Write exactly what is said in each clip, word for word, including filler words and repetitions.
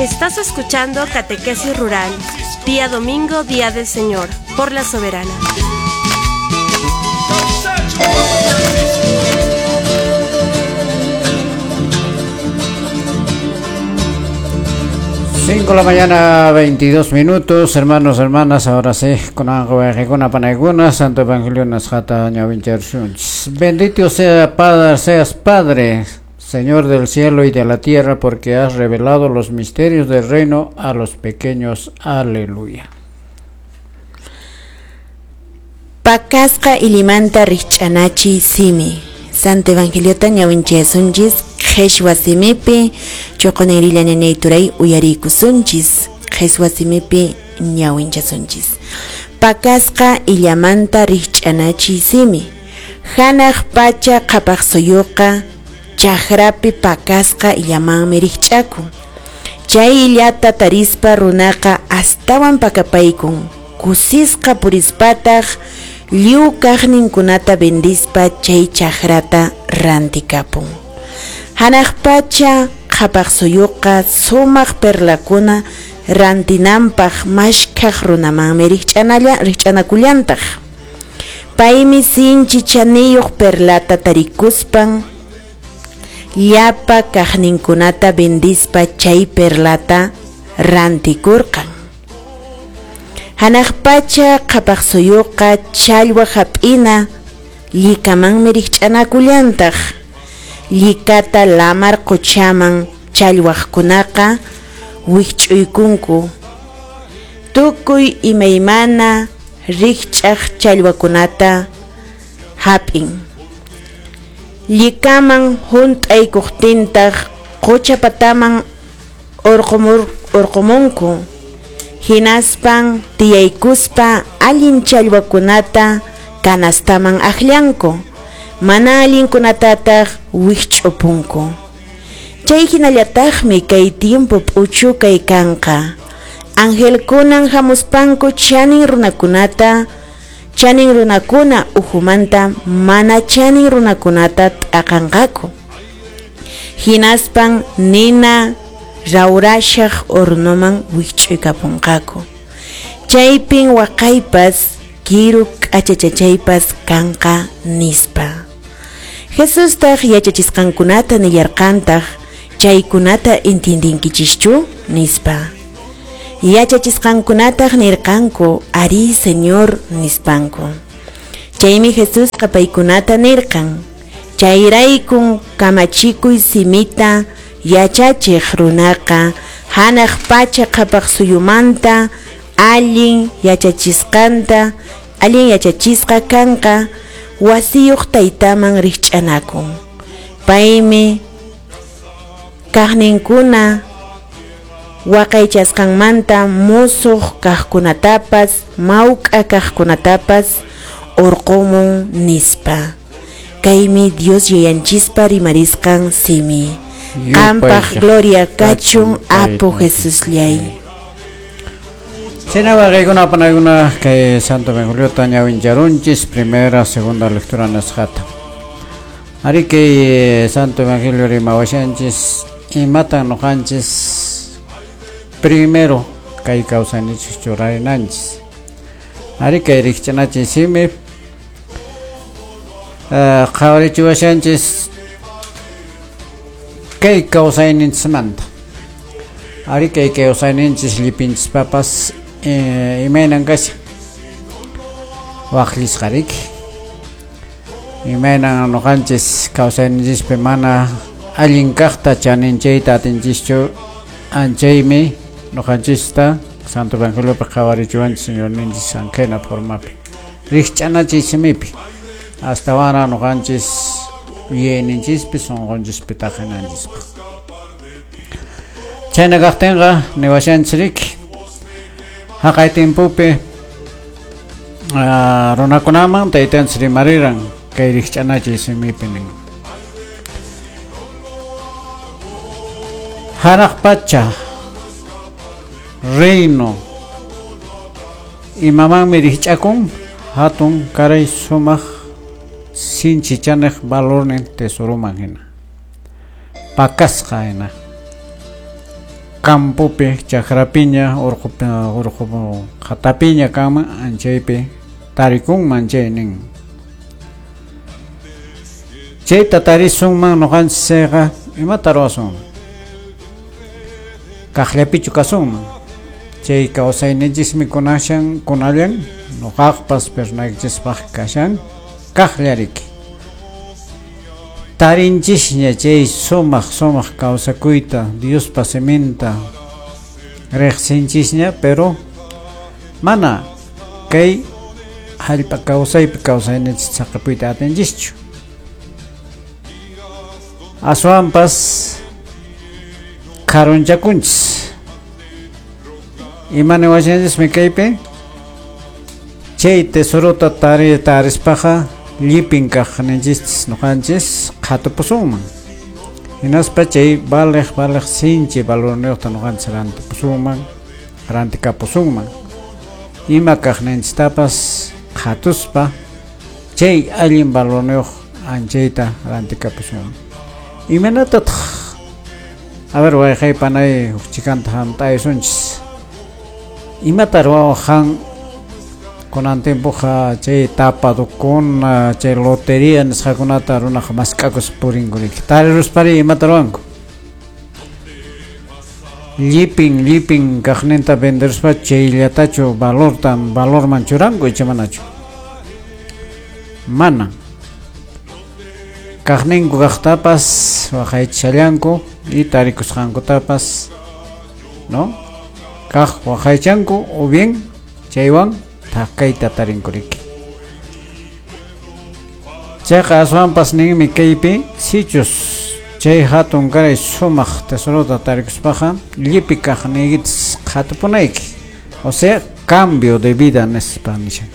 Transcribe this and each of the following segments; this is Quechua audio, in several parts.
Estás escuchando Catequesis Rural, día domingo, día del Señor, por la Soberana. Cinco de la mañana, veintidós minutos, hermanos, hermanas, ahora sí, con con Santo Evangelio Nasjata Bendito sea Padre, seas Padre, Señor del cielo y de la tierra, porque has revelado los misterios del reino a los pequeños. Aleluya. Pakasqa ilimanta rikch'anachi simi. Santo Evangeliota ñawinchasunchis qheshwa simipi chuqunirilla ñañayturay uyariykusunchis qheshwa simipi ñawinchasunchis. Pakasqa illamanta rikch'anachi simi. Hanaq pacha qhapaq suyuqa chakrapi pakasqa illamanmi rikch'akun. Chay illata tarispa runaqa astawan pakapaykun. Kusisqa purispataq lliw kaqninkunata vendispa chay chakrata rantikapun. Hanaq pacha qhapaq suyuqa sumaq perlakuna rantinanpaq mashkhaq runamanmi rikch'analla rikch'anakullantaq. Paymi sinchi chaniyuq perlata tarikuspan llapa kaqninkunata vendispa chay perlata rantikurqan. Hanaq pacha qhapaq suyuqa challwa hap'ina llikamanmi rikch'anakullantaq. Llikata lamar quchaman challwaqkunaqa wikch'uykunku. Tukuy imaymana rikch'aq challwakunata hap'in. Llikaman hunt'aykuqtintaq qucha pataman urqumur urqumunku. Hinaspan tiyaykuspa allin challwakunata kanastaman aqllanku, mana allinkunatataq wikch'upunku. Chay hinallataqmi kay tiempo p'uchukay kanqa. Angelkunan hamuspanku chanin runakunata, chanin runakuna uhumanta mana chanin runakunata t'aqanqaku. Hinaspan nina rawrashaq hornoman wikch'uykapunqaku. Chaypin waqaypas kiru k'achachachaypas kanqa nispa. Jesustaq yachachisqankunata nillarqantaq chaykunata entiendinkichischu nispa. Yachachisqankunataq nirqanku ari Señor nispanku. Chaymi Jesusqa paykunata nirqan chayraykun kamachikuy simita yachachiq runaqa hanaq pacha qhapaq suyumanta allin yachachisqanta allin yachachisqa kanqa wasiyuq taytaman rikch'anakun. Paymi kaqninkuna waqaychasqanmanta musuq kaqkunatapas mawk'a kaqkunatapas urqumun nispa. Kaymi Dios yayanchispa rimarisqan simi. Qampaq gloria kachun Apu Jesusllay. Chaynaqa kaykuna panaykuna kay Santo Evangeliota ñawincharunchis primera, segunda lectura nasqata. Ari kay Santo Evangelio rimawashanchis imatan nuqanchis primero kay kawsayninchis churarinanchis. Ari kay rikch'anachis simi qhawarichiwashanchis kay kawsayninchikmanta. Ari kay kawsayninchis llipinchispapas eh, imaynan kashan waqllisqariki. Imaynan nuqanchis kawsayninchispi mana allin kaqta chaninchayta atinchischu anchaymi nuqanchista Santo Evangeliopi qhawarichiwanchis Señorninchis ankhayna formapi rikch'anachiy simipi astawanra nuqanchis yuyayninchispi sunqunchispi taqinanchispaq. Chayna kaqtinqa niwashanchik haqay timpupi runakunaman taytanchis rimariran kay rikch'anachiy simipi nin. Hanaq pacha reino imamanmi rikch'akun hatun karay sumaq sinchi chaniq valornin tesoroman hina pakasqa hina campopi chakrapiña urqu urqu qhatapiña kanman anchaypi tarikunman chay nin. Chayta tarisunman nuqanchikqa imata ruwasunman? Kaqllapichu kasunman? Chay kawsayninchismi kunashan kunallan nuqaqpas pernaykichispaq kashan kaqllariki. Tarinchisña chay sumaq sumaq kawsakuyta Diospa siminta riqsinchisña, pero mana kay hallp'a kawsaypi kawsayninchis saqapuyta atinchischu. Aswanpas karunchakunchis. Ima niwashanchismi kaypi? Chay tesorota tari tarispaqa llipin kaqninchis nuqanchis qhatupusunman. Hinaspa chay valeq valeq sinchi valorniyuqta nuqanchis rantipusunman, rantikapusunman. Ima kaqninchistapas qhatuspa chay allin valorniyuq anchayta rantikapusunman. Imaynatataq? A ver, wayqay panay huk chikanta hamt'aysunchis. Imata ruwawaq kunan tiempoqa chay tapadukuna, chay lotería nisqakunata runaqa mask'akuspa purinku riki. Tariruspari imata ruwanku? Llipin llipin kaqninta venderuspa chayllatachu valorta valorman churanku icha manachu? Mana. Kaqninku kaqtapas waqaychallanku y tarikusqankutapas, ¿no? Kaq waqaychanku o bien chaywan thakayta tarinku riki. Chayqa aswanpas ninmi kaypi sichus chay hatun karay sumaq tesorota tarikuspaqa llipi kaqniykitas qhatupunayki. O sea, cambio de vida nispa nishan.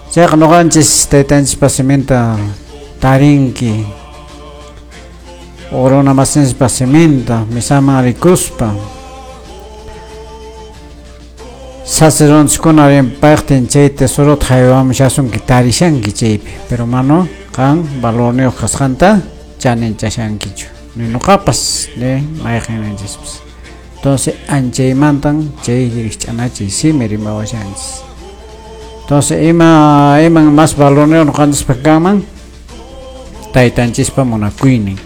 Chayqa nuqanchis taytanchispa siminta tarinki, runa masinchispa siminta misaman rikuspa sacerdotekuna rinpaqtin chay tesorota haywamushasunki tarishanki chaypi, pero mano qan valorniyuq kasqanta chaninchashankichu ni nuqapas ni mayqinninchispas. Entonces anchaymantan chay rikch'anachiy simi rimawashanchis. Entonces ima iman más valorniyuq nuqanchispa kanman? Taytanchispa munakuynin,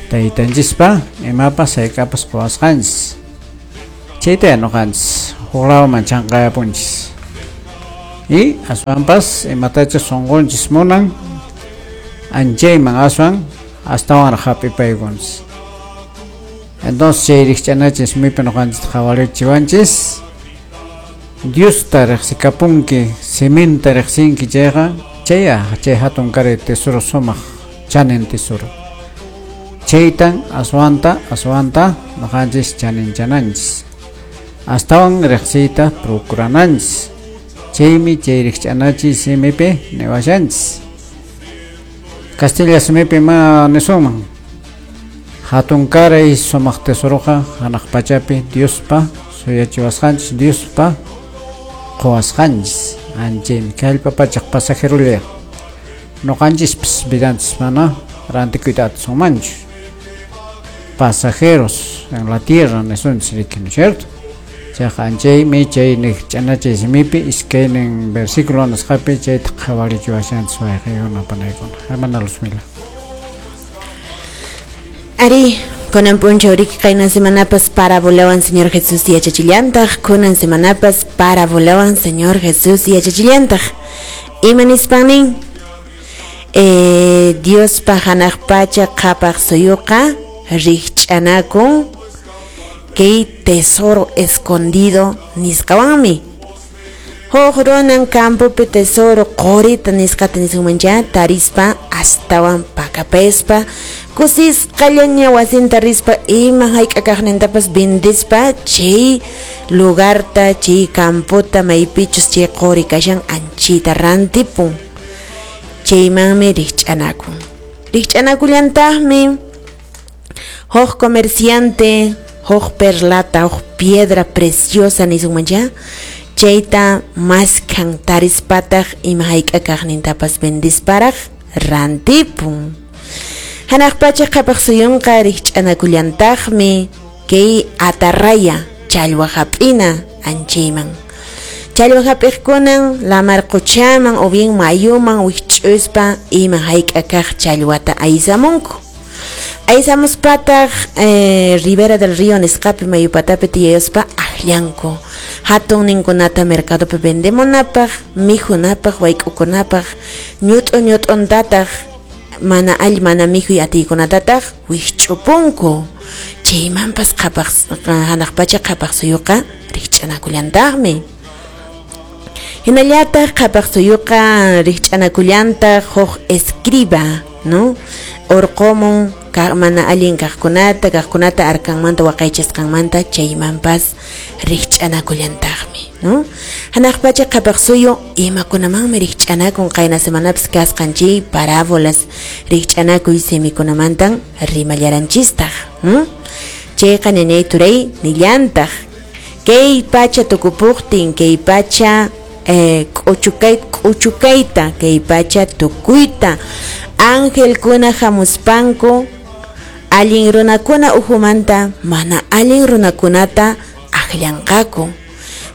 taytanchispa imapas hayk'apas quwasqanchis. Chayta nuqanchis huqlawman chanqayapunchis. Y aswanpas imatachus sunqunchis munan anchayman aswan astawanraq hap'ipaykunchis. Entonces chay rikch'anachis simipi nuqanchista qhawarichiwanchis Diosta riqsikapunki, siminta riqsinki chayqa chaya chay hatun karay tesoro sumaq chanin tesoro. Chaytan aswanta aswanta nuqanchis chaninchananchis. Astawan riqsiyta procurananchis. Chaymi chay rikch'anachiy simipi niwashanchis. Castilla simipi ma nisunman? Hatun karay sumaq tesoroqa hanaq pachapi Diospa suyachiwasqanchis, Diospa quwasqanchis. Anchaymi kay hallp'a pachaq pasajerolla. Nuqanchispas vidanchis mana rantikuyta atisunmanchu. Pasajeros en la tierra nisunchis riki, ¿no es cierto? Chayqa anchaymi chay rikch'anachiy simipi iskaynin versículo nisqapi chayta qhawarichiwashanchis wayqiykuna panaykuna. Hermana Luzmila. Ari, kunan p'unchaw riki qayna semanapas parabolawan Señor Jesús yachachillantaq, kunan semanapas parabolawan Señor Jesús yachachillantaq. Ima nispan nin? Eh, Diospa hanaq pacha qhapaq suyuqa rikch'anakun kay tesoro escondido nisqawanmi. Huk runan campopi tesoro qurita nisqata nisunmancha tarispa astawan pakapaspa kusisqallaña wasinta rispa ima hayk'a kaqnintapas vendispa chay lugarta chay campota maypichus chay quri kashan anchita rantipun. Chaymanmi rikch'anakun. Rikch'anakullantaqmi huk comerciante huk perlata huk piedra preciosa nisunmancha chayta maskhan tarispataq ima hayk'a kaqnintapas vendisparaq rantipun. Hanaq pacha qhapaq suyunqa rikch'anakullantaqmi kay atarraya challwa hap'ina anchayman. Challwa hap'iqkunan lamar quchaman o bien mayuman wikch'uspa ima hayk'a kaq challwata aysamunku. Aysamuspataq eh, Ribera del Río nisqapi mayupatapi tiyayuspa akllanku. Hatunninkunata mercadopi vendemunapaq, mikhunapaq, wayk'ukunapaq, ñut'u ñut'untataq mana all mana mikhuy atiykunatataq wikch'upunku. Chaymanpas qhapaq hanaq pacha qhapaq suyuqa rikch'anakullantaqmi. Hinallataq qhapaq suyuqa rikch'anakullantaq huk escriba, ¿no? Orqomun mana allin kaqkunata, kaqkunata arkanmanta waqaychasqanmanta chaymanpas rikch'anakullantaqmi, ¿no? Hanaq pacha qhapaq suyu imakunamanmi rikch'anakun qayna semanapas kasqan chay parábolas rikch'anakuy simikunamantan rimallaranchistaq, ¿no? Chayqa ñañay turay nillantaq kay pacha tukupuqtin, kay pacha eh, k'uchukay k'uchukayta, kay pacha tukuyta angelkuna hamuspanku allin runakuna uhumanta mana allin runakunata akllanqaku,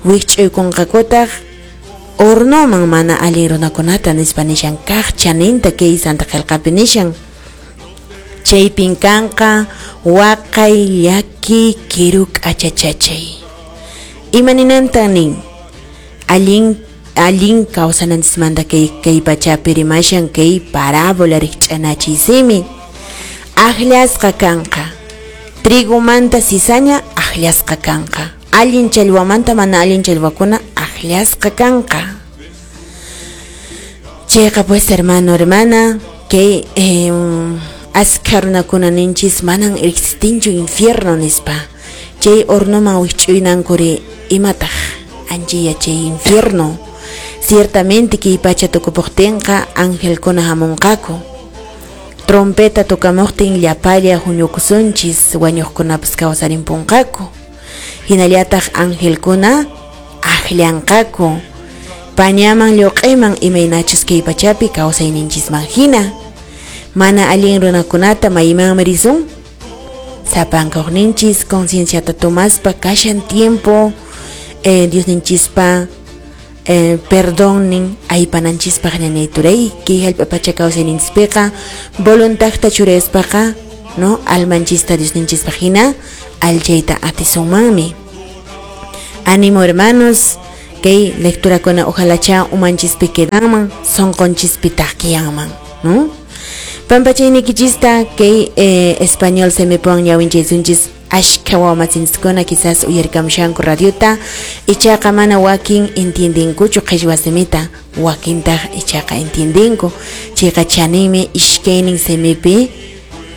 wikch'uykunqakutaq hornoman mana allin runakunata nispa nishan kaq chaninta kay Santa Qillqapi nishan. Chaypin kanqa waqay llaki kiru k'achachachay. Ima ninantan nin? Allin allin kawsananchismanta kay kay pachapi rimashan kay parábola rikch'anachiy simi. Akllasqa kanqa trigomanta cizaña akllasqa kanqa, allin challwamanta mana allin challwakuna akllasqa kanqa. Chayqa pues hermano, hermana, kay eh, askha runakuna ninchis manan existinchu infierno nispa. Chay hornoman wikch'uynankuri imataq anchaya chay infierno. Ciertamente kay pacha tukupuqtinqa angelkuna hamunqaku. Trompeta tokamuqtin llapalla huñukusunchis wañuqkunapas kawsarimpunqaku. Hinallataq angelkuna akllanqaku pañaman lluq'iman imaynachus kay pachapi kawsayninchisman hina. Mana allin runakunata maymanmi risun? Sapankuqninchis concienciata tomaspa kashan tiempo eh, Diosninchispa Eh, perdón aypananchispaq ñañay turay kay hallp'a pacha kawsayninchispiqa voluntadta churaspaqa, no, almanchista Diosninchispaq hina allchayta atisunmanmi. Ánimo hermanos, kay lecturakuna ojalacha umanchispi quedanman, sonqonchispi taqkiyanman, ¿no? Pampachaynikichista kay eh, español simipuwan ñawinchaysunchis ashka wawamasinchiskuna quizás uyarikamushanku radiota ichaqa mana wakin entiendenkuchu qhichwa simita, wakintaq ichaqa entiendenku. Chayqa chaninmi ishkaynin simipi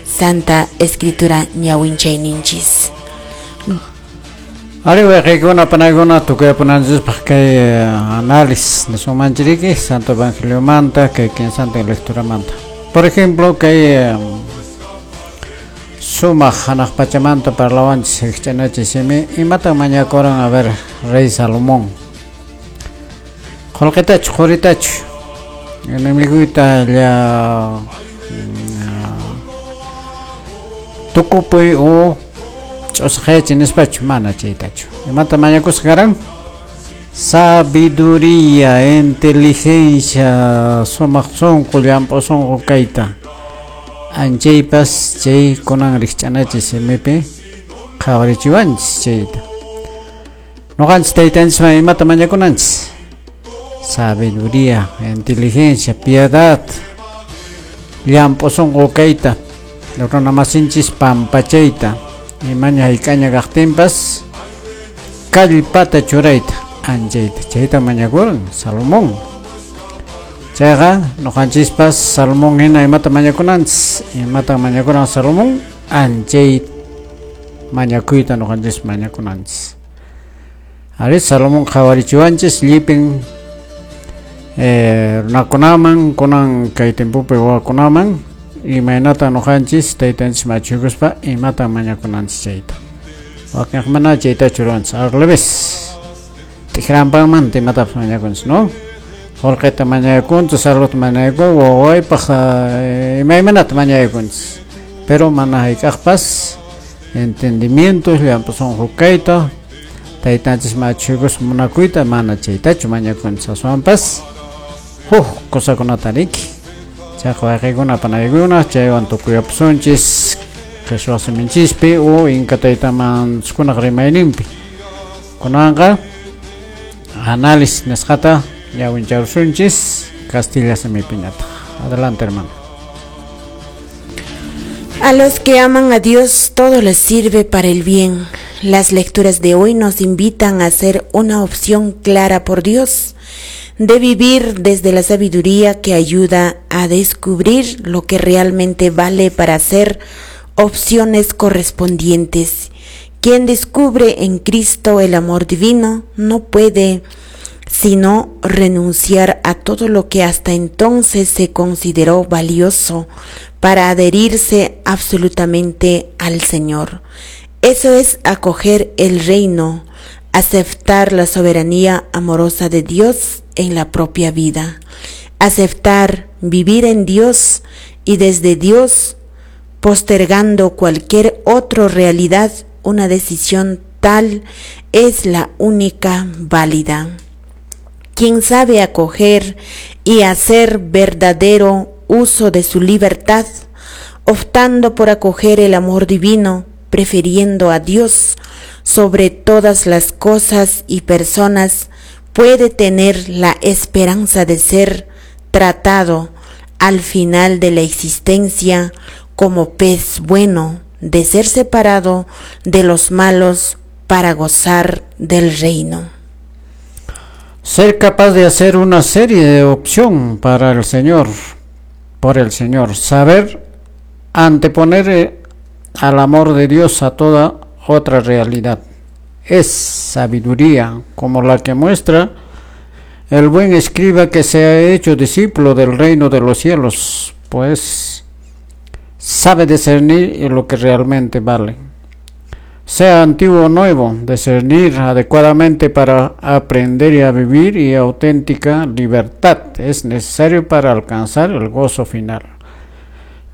Santa Escritura ñawinchayninchis. Ari wayqiykuna panaykuna tukuyapunanchispaq kay análisis nisumanchiriki Santo Evangeliomanta kay kinsantin lecturamanta. Por ejemplo, kay sumaq hanaq pachamanta parlawanchis rikch'anachiy simi imatan mañakuran a ver rey Salomón. Qullqitachu quritachu enemiguyta lla tukupuy o ch'usqayachi nispachu mana chaytachu. Imata mañakusqa karan? Sabiduría, inteligencia, sumaq sunqu, llamp'u sunqu kayta. Anchaypas chay kunan rikch'anachiy simipi qhawarichiwanchis chayta. Ñuqanchis taytanchisman imata mañakunanchis? Sabiduría, inteligencia, piedad, llamp'u sunqu kayta, runamasinchis pampachayta, imaña hayk'aña kaqtinpas kallpata churayta, anchayta. Chayta mañakuran Salomón. Chayqa ñuqanchispas Salomón hina imata mañakunanchis, imata mañakuran Salomón, anchay mañakuyta ñuqanchis mañakunanchis. Ari Salomón qhawarichiwanchis llipin eh, runakunaman kunan kay timpupi wawakunaman imaynata ñuqanchis taytanchis machuykuspa imata mañakunanchis chayta. Wakinqa mana chaytachu ruwanchis, al revés. Tijrampanmanta imatapas mañakunchis, ¿no? Qullqita mañakunchis, saludta mañakun, wawaypaq imaymanata mañakunchis. Pero mana hayk'aqpas entendimiento, llamp'u sunqu kayta, taytanchis machuykus munakuyta mana chaytachu mañakunchis, aswanpas huk cosakunata riki. Chayqa wayqikuna panaykuna chaywan tukuyapusunchis qhichwa siminchispi o inka taytamanchikkunaq rimayninpi. Kunanqa análisis nisqata ñawincharusunchis castilla simipiñataq. Adelante, hermano. A los que aman a Dios, todo les sirve para el bien. Las lecturas de hoy nos invitan a hacer una opción clara por Dios, de vivir desde la sabiduría que ayuda a descubrir lo que realmente vale para hacer opciones correspondientes. Quien descubre en Cristo el amor divino no puede sino renunciar a todo lo que hasta entonces se consideró valioso para adherirse absolutamente al Señor. Eso es acoger el reino, aceptar la soberanía amorosa de Dios en la propia vida, aceptar vivir en Dios y desde Dios, postergando cualquier otra realidad, una decisión tal es la única válida. Quien sabe acoger y hacer verdadero uso de su libertad, optando por acoger el amor divino, prefiriendo a Dios sobre todas las cosas y personas, puede tener la esperanza de ser tratado al final de la existencia como pez bueno, de ser separado de los malos para gozar del reino. Ser capaz de hacer una serie de opción para el Señor, por el Señor, saber anteponer al amor de Dios a toda otra realidad. Es sabiduría como la que muestra el buen escriba que se ha hecho discípulo del reino de los cielos, pues sabe discernir lo que realmente vale. Sea antiguo o nuevo, discernir adecuadamente para aprender y a vivir y auténtica libertad es necesario para alcanzar el gozo final.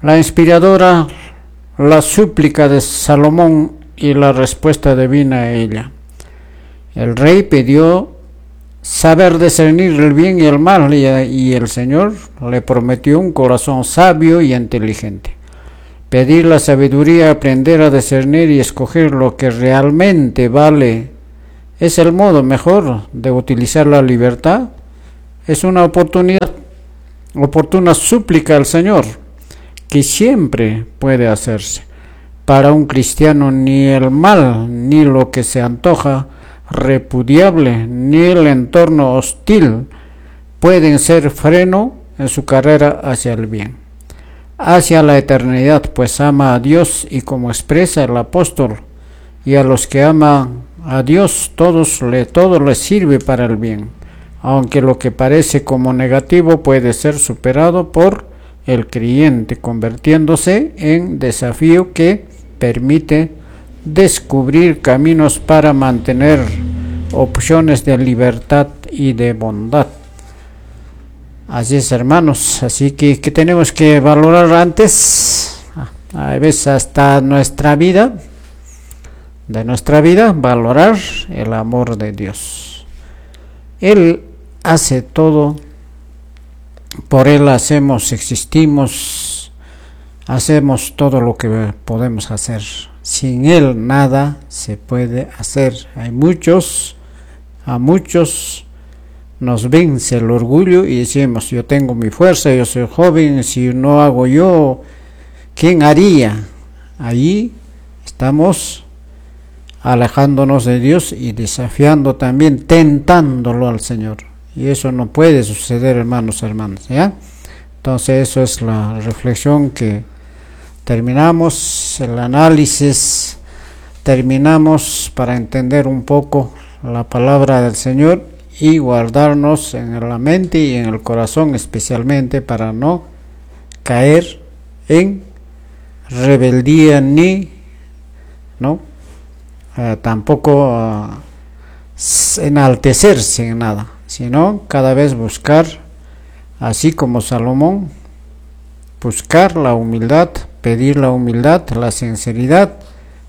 La inspiradora, la súplica de Salomón y la respuesta divina a ella. El rey pidió saber discernir el bien y el mal y, y el Señor le prometió un corazón sabio y inteligente. Pedir la sabiduría, aprender a discernir y escoger lo que realmente vale es el modo mejor de utilizar la libertad. Es una oportunidad, oportuna súplica al Señor que siempre puede hacerse. Para un cristiano ni el mal, ni lo que se antoja repudiable, ni el entorno hostil pueden ser freno en su carrera hacia el bien, hacia la eternidad, pues ama a Dios y como expresa el apóstol, y a los que aman a Dios todos le, todo les sirve para el bien, aunque lo que parece como negativo puede ser superado por el creyente, convirtiéndose en desafío que permite descubrir caminos para mantener opciones de libertad y de bondad. Así es, hermanos, así que, que tenemos que valorar antes, a veces hasta nuestra vida, de nuestra vida, valorar el amor de Dios. Él hace todo, por Él hacemos, existimos, hacemos todo lo que podemos hacer. Sin Él nada se puede hacer. Hay muchos, a muchos nos vence el orgullo y decimos, yo tengo mi fuerza, yo soy joven, si no hago yo, ¿quién haría? Allí estamos alejándonos de Dios y desafiando también, tentándolo al Señor. Y eso no puede suceder, hermanos, hermanas, ¿ya? Entonces eso es la reflexión que terminamos, el análisis, terminamos para entender un poco la palabra del Señor y guardarnos en la mente y en el corazón, especialmente para no caer en rebeldía ni, ¿no? Eh, tampoco uh, enaltecerse en nada, sino Sino cada vez buscar, así como Salomón, buscar la humildad, pedir la humildad, la sinceridad,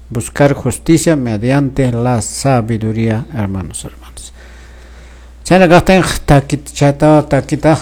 buscar justicia mediante la sabiduría, hermanos, hermanos. Chayna kaqtin takita chata takita.